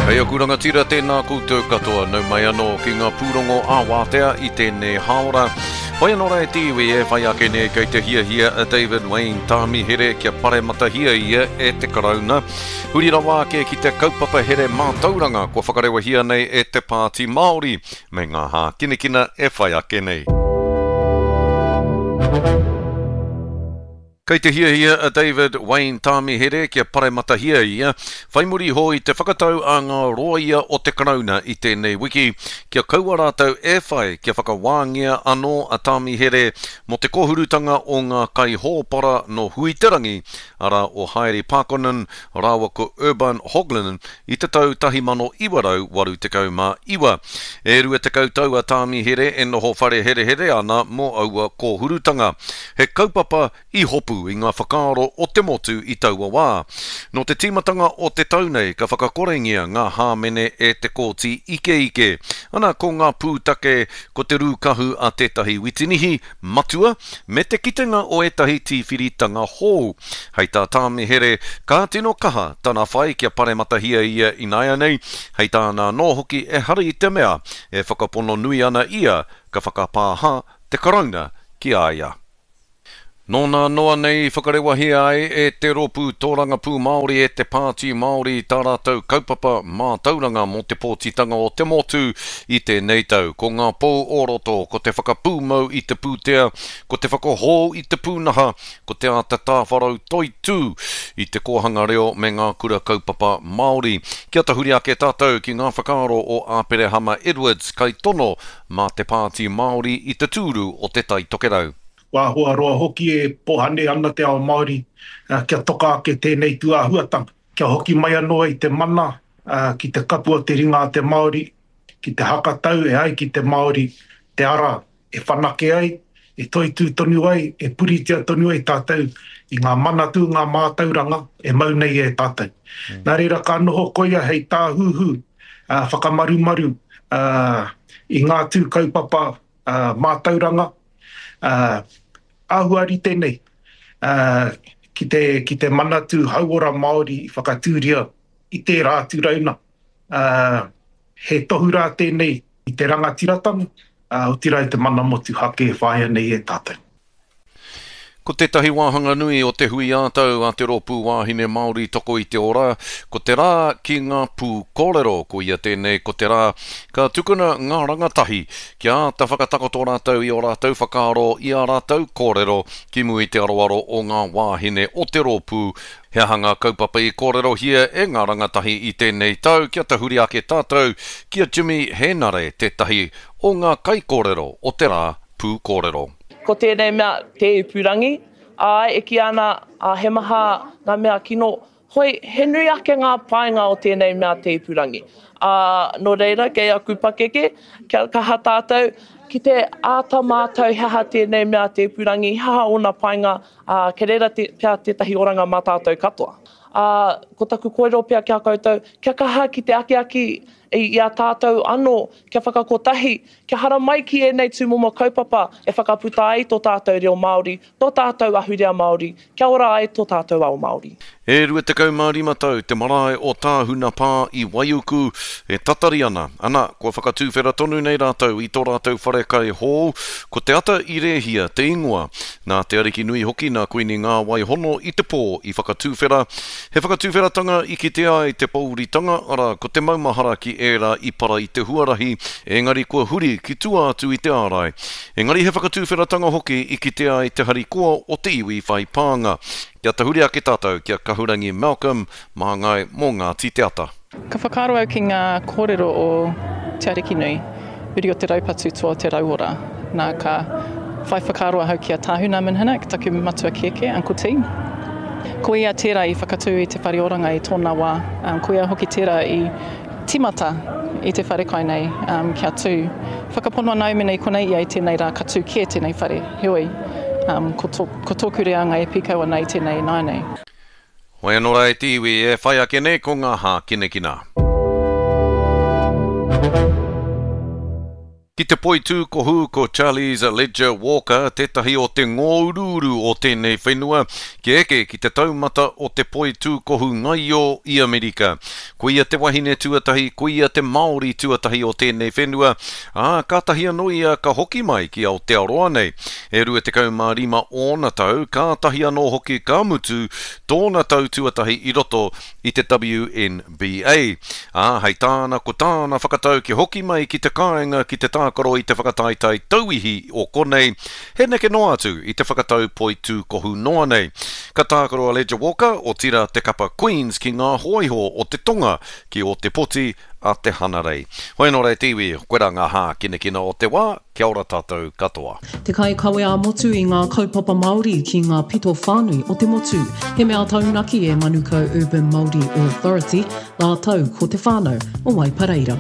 Hei aku rangatira, tēnā koutou katoa, nau mai anō ki ngā pūrongo ā-wātea i tēnei hāora. Whai anō rā e te iwi e whai ake nei kei te hiahia a David Wayne Tāmihere kia parematahia ia e te Karauna. Huri rawa ake ki te kaupapa here mātauranga kua whakarewahia nei e te Pāti Māori me ngā hākinakina e whai ake nei. Kei te hiahia a David Wayne Tāmihere kia parematahia ia, whai muri iho i te whakatau a ngā rōia o te Karauna i tēnei wiki kia kaua rātou e whai kia whakawāngia anō a Tāmihere mō te kōhurutanga o ngā kaihōpara nō Huiterangi, arā o Haere Paakkonen rāua ko Urban Hoglin i te tau 1989. E 20 tau a Tāmihere e noho whare herehere ana mō aua kōhurutanga. He kaupapa i hopu i ngā whakaaro o te motu i taua wā. Nō te tīmatanga o te tau nei ka whakakorengia ngā hāmene e te Kōti Ikeike. Ana ko ngā pūtake ko te rūkahu a tētahi witinihi matua me te kitenga o ētahi tīwhiritanga hou. Hei tā Tāmihere, ka tino kaha tana whai kia parematahia ia ināianei, hei tāna anō hoki ehara i te mea e whakapono nui ana ia ka whakapāha te Karauna ki a ia. Nō nā noa nei i whakarewahia ai e te Rōpū Tōrangapū Māori e te Pāti Māori tā rātou kaupapa mātauranga mō te pōtitanga o te motu i tēnei tau. Ko ngā pou o roto, ko te whakapūmau i te pūtea, ko te whakahou i te pūnaha, ko te āta tāwharau toitū i te kōhanga reo me ngā kura kaupapa Māori. Kia tahuri ake tātou ki ngā whakaaro o Āperehama Edwards, kaitono mā te Pāti Māori i te tūru o Te Tai Tokerau. Kua āhua roa hoki e pohane ana te ao Māori kia toka ake tēnei tūāhuatanga, kia hoki mai anō ai te mana ki te kapu o te ringa a te Māori, ki te hakatau e ai ki te Māori te ara e whanake ai, e toitū tonu ai, e puritia tonu ai tātou i ngā manatū, ngā mātauranga e mau nei e tātou. Nā reira ka noho koia hei tāhuhu whakamarumaru i ngā tū kaupapa mātauranga āhua rite nei ki te, ki te Manatū Hauora Māori i whakatūria i tērā atu rauna. He tohu rā tēnei i te rangatiratanga, otirā i te mana motuhake e whāia nei e tātou. Ko tētahi wāhanga nui o te hui ā-tau a te Rōpū Wāhine Māori Toko i te Ora, ko te rā ki ngā pū kōrero. Koia tēnei ko te rā ka tukuna ngā rangatahi kia āta whakatakoto rātou i ō rātou whakaaro, i ā rātou kōrero ki mua i te aroaro o ngā wāhine o te rōpū. He aha ngā kaupapa i kōrerohia e ngā rangatahi i tēnei tau? Kia tahuri ake tātou ki a Jimmy Hēnare, tētahi o ngā kaikōrero o te rā pū kōrero. Ko tēnei mea te ipurangi, āe, e kīia ana, ā, he maha ngā mea kino, hoi, he nui ake ngā painga o tēnei mea te ipurangi. Ā, nō reira, kei aku pakeke, kia kaha tātou ki te āta mātau he aha tēnei mea te ipurangi, he aha ōna painga, ā, kei reira te, pea tētahi oranga mā tātou katoa. Ā, ko taku kōrero pea ki a koutou, kia kaha ki te akiaki i a tātou anō, kia whakakotahi, Kia haramai ki ēnei tūmomo kaupapa e whakaputa ai tō tātou reo Māori, tō tātou ahurea Māori, kia ora ai tō tātou ao Māori. E 25 tau te marae o Tāhuna Pā i Waiuku e tatari ana, ana, kua whakatūwhera tonu nei rātou i tō rātou wharekai hou, ko Te Ata i Rēhia te ingoa. Nā Te Arikinui hoki nā Kuini Ngāwai Hono i te pō i whakatūwhera, He whakatuwheratanga i kitea ai te pouritanga, arā, ko te maumahara ki ērā i para i te huarahi, engari kua huri ki tua atu i te ārai. Engari he whakatuwheratanga hoki i kitea ai te harikoa o te iwi whai pānga. Kia tahuri ake tātou ki a Kahurangi Malcolm, māngai mō Ngāti Te Ata. Ka whakaaro au ki ngā kōrero o Te Arikinui, uri o te raupatu toa o te rauora. Nā, ka whai whakaaro ahau ki a Tāhuna Minhinnick, taku matua kēkē, Uncle T. Ko ia tērā i whakatū i te whare oranga i tōna wā. Ko ia hoki tērā i tīmata i te wharekai nei kia tū. Whakapono ana au mēnā i konei ia i tēnei rā ka tū kē tēnei whare. Heoi, ko tōku reanga e pīkau ana i tēnei ināianei. Hoi anō rā e te iwi, e whai ake nei ko ngā hākinakina. Ki te poitūkohu ko Charlize Ledger Walker tētahi o te ngōuruuru o tēnei whenua kia eke ki te taumata o te poitūkohu ngaio i Amerika. Ko ia te wahine tuatahi, ko ia te Māori tuatahi o tēnei whenua, ā, kātahi anō ia ka hoki mai ki Aotearoa nei. E 25 ōna tau, kātahi anō hoki ka mutu tōna tau tuatahi i roto i te WNBA. Ā, hei tāna, ko tāna whakatau kia hoki mai ki te kāinga ki te tākaro i te whakataetae tauihi o konei, he neke noa atu i te whakatau poitūkohu noa nei. Ka tākaro a Ledger Walker, otirā te kapa Queens ki ngā hōiho o te tonga ki Ōtepoti a te Hanarei. Hoi anō rā e te iwi, koirā ngā hākinakina o te wā, kia ora tātou katoa. Te kaikawe ā-motu i ngā kaupapa Māori ki ngā pito whānui o te motu. He mea taunaki e Manukau Urban Māori Authority rātou ko te whānau o Waipareira.